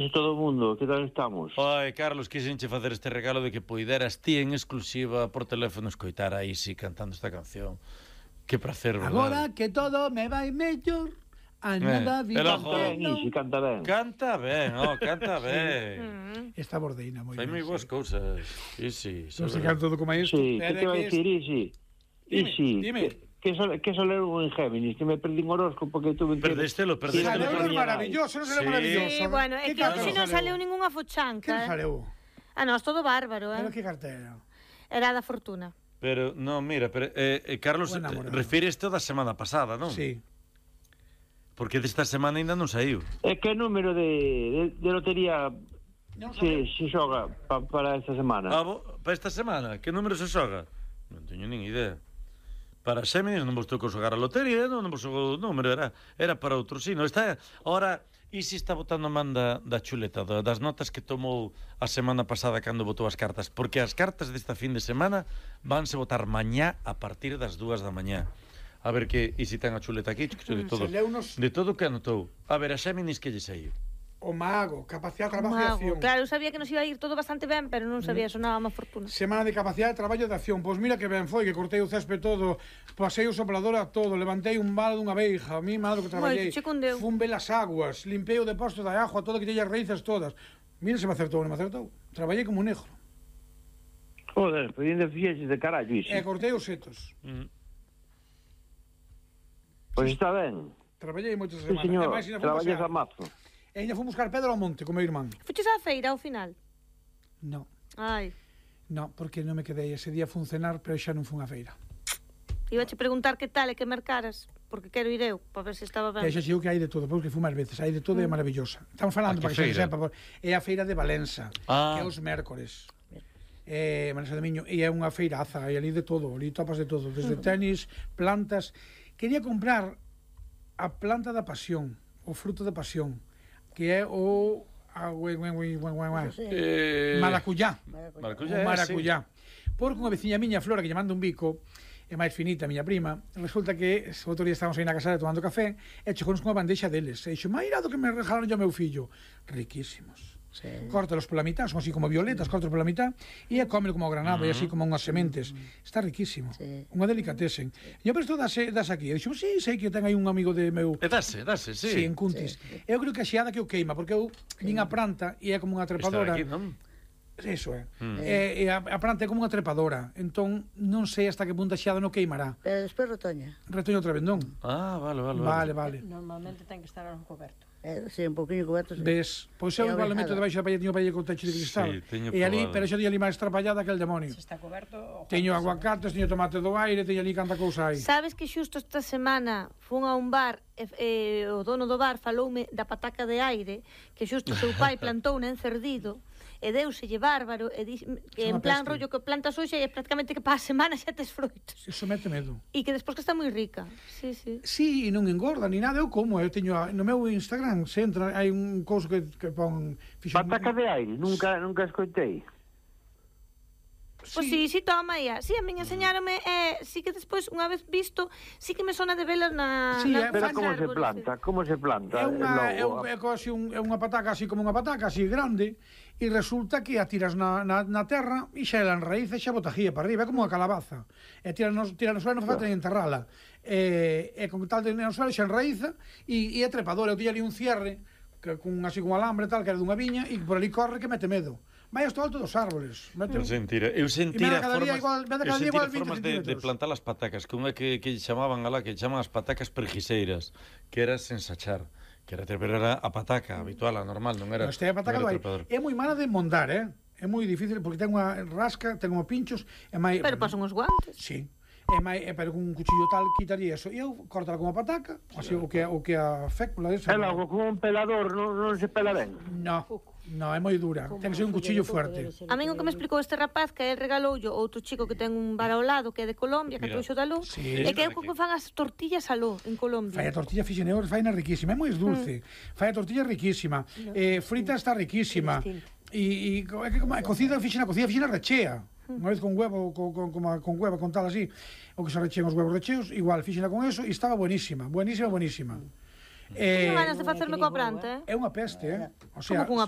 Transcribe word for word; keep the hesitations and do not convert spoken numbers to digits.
De todo o mundo, que tal estamos? Ai, Carlos, quixenche facer este regalo de que poideras ti en exclusiva por teléfono escoitar a Isi cantando esta canción. Que prazer, verdade? Agora que todo me vai mellor, a nada Eh, vida el Canta ben, Isi, canta ben. Canta ben, oh, canta ben. Esta bordeina moi Fai moi ben. boas cousas. Isi, Non se canto todo como isto. Sí, que te vai dicir, Isi? Dime, Isi, dime. que, que, sol, que solero en Géminis, que me perdí un horóscopo que tuve que... Perdéstelo, perdéstelo. Saleu Pero é maravilloso, non será Sí. maravilloso. Sí, bueno, é Que que hoxe cartón non saleu ningunha fochanca. Que eh. saleu? Ah, non, todo bárbaro, Pero eh. que cartera? Era da fortuna. Pero, no, mira, pero, eh, eh, Carlos, Buen namorado. refires toda a semana pasada, non? Sí. Porque desta semana ainda non saiu. É que número de, de, de lotería Non se, se xoga pa, para esta semana? Ah, bo, para esta semana, que número se xoga? Non teño nin idea. Para Xéminis non vos tocou xogar a lotería, non, non vos xogou o número, era, era para outro sino. Está, ahora, Isi está botando man da, da chuleta, da, das notas que tomou a semana pasada cando botou as cartas, porque as cartas desta fin de semana vanse botar mañá a partir das dúas da mañá. A ver que Isi ten a chuleta aquí, de todo, Saleunos- de todo que anotou. A ver, a Xéminis que lle saiu. O mago, capacidade de trabajo e Mago. acción. Claro, eu sabía que nos iba a ir todo bastante ben, pero non sabía, sonaba má fortuna. Semana de capacidade de traballo e de acción. Pois mira que ben foi, que cortei o césped todo, pasei o soplador a todo, levantei un balo dunha veiga, a mí malo que traballei. Moi, che cundeu. Fun ver as aguas, limpei o depósito da agua, todo que teña as raíces todas. Mira se me acertou, non me acertou. Traballei como un negro. Joder, pedindo fixeches de carallo, Isi. E cortei os setos. Mm. Pois está ben. Traballei moitas Sí, semanas. señor, E máis, ainda fun traballas pasear. a mazo. E ainda fun buscar pedra ao monte con meu irmán. Fuches á feira ao final? No, Ai, no, porque non me quedei. Ese día fun cenar, pero xa non fun á feira. iba che preguntar que tal e que mercaras, porque quero ir eu, para ver se estaba ben. E xa digo que hai de todo, porque fui máis veces, hai de todo e é maravillosa. Estamos falando A que para que feira? xa se sepa, por- é a feira de Valença, Ah. que é os mércores. É Valença de Miño, e é unha feiraza, e ali de todo, ali topas de todo, desde tenis, plantas. Quería comprar a planta da pasión, o fruto da pasión, que é o a, ue, ue, ue, ue, ue, ue, Eh... maracuyá. Maracuyá, O maracuyá. Porque unha veciña miña, Flora, que lle manda un bico, é máis finita, a miña prima, resulta que o outro día estábamos aí na casa tomando café e chegounos con unha bandexa deles. E dixo, mairado que me regalaron yo ao meu fillo. Riquísimos. Sí. Córtalos pola mitad, son así como violetas, córtalos pola mitad e é cómelo como granado e así como unhas sementes. Está riquísimo. Sí. Unha delicatesen. E eu, pero isto dase, das aquí. E dixo, sí, sei que eu ten aí un amigo de meu... E dase, dase, sí. Sí, en Cuntis. Eu creo que a xeada que o queima, porque eu vin a planta e é como unha Está trepadora. aquí, non? Eso é. Mm. E, e a, a planta é como unha trepadora. Entón, non sei hasta que punto a xeada non queimará. Pero despois retoña. Retoño outra vez, non? Ah, vale, vale, Vale, vale. Normalmente ten que estar algo coberto. Eh, sí, un poquinho coberto. Sí. Ves? Pois eu É igual meto ovejada. debaixo da paella, teño paella con techo de cristal. Sí, teño e ali, probado. pero xa di ali máis trapallada que el demonio. Se está coberto... o Teño Juan aguacates, teño tomate do aire, teño ali canta cousa aí. Sabes que xusto esta semana fun a un bar e, e o dono do bar faloume da pataca de aire que xusto o seu pai plantou en Cerdido e deuselle bárbaro e di, que É en unha plan peste. rollo que plantas hoxe e prácticamente que para a semana xa tes froitos Iso mete medo. e que despois que está moi rica. Sí, sí. Sí, e non engorda ni nada, eu como, eu teño a- no meu Instagram, se entra, hai un couso que, que pon... fixo- Pataca de aire, nunca, nunca escoitei. Pois sí, sí, toma ia. Sí, a miña enseñárame e eh, sí que despois unha vez visto, sí que me sona de velas na Sí, na eh, Pero Faz como se árbores, planta? Como se planta? É unha, é, Logo, un, é, co- así un, é unha pataca así como unha pataca así grande e resulta que a tiras na, na, na terra e xa ela en raíz e xa botagía para arriba, é como unha calabaza e tira no, tira no suelo non falta ni enterrala e, e con tal de no suelo xa enraíza e, e é trepadora, eu tiña ali un cierre que, con, así con alambre tal que era dunha viña e por ali corre que mete medo vai hasta o alto dos árboles mete... Eu sentira, eu sentira E me da cada día formas, igual- me da eu cada día sentira igual vinte formas de, de centímetros. plantar as patacas, que unha que, que chamaban alá, que chaman as patacas perjiseiras, que era sen sachar, que era, pero era a pataca habitual, a normal, non era. Pero este é a pataca non do era aire. trepador. É moi mala de mondar, eh? É moi difícil porque ten unha rasca, ten unha pinchos, é máis... Pero pasan os guantes. Sí. É máis, é, pero con un cuchillo tal quitaría eso. E eu cortala como a pataca, así o que o que a fécula esa. É logo, con un pelador non, non se pela ben. No. No, é moi dura. Ten que ser un cuchillo fuerte. A min o que me explicou este rapaz que el regaloulle outro chico que ten un bar ao lado que é de Colombia, que Mira. trouxo da luz, Sí. e que é o que fan as tortillas aló en Colombia. Fai a tortilla fixen eu, fai na riquísima, é moi dulce. Fai a tortilla riquísima. Eh, frita está riquísima. E, e co- é que como é cocida fixen a cocida fixen a rechea. Unha vez con huevo, con, con, con, con huevo, con tal así, o que se rechean os huevos recheos, igual fixena con eso e estaba buenísima, buenísima, buenísima. Teño Eh, ganas de facerme coa planta, eh? é unha peste, eh? O sea, Como cunha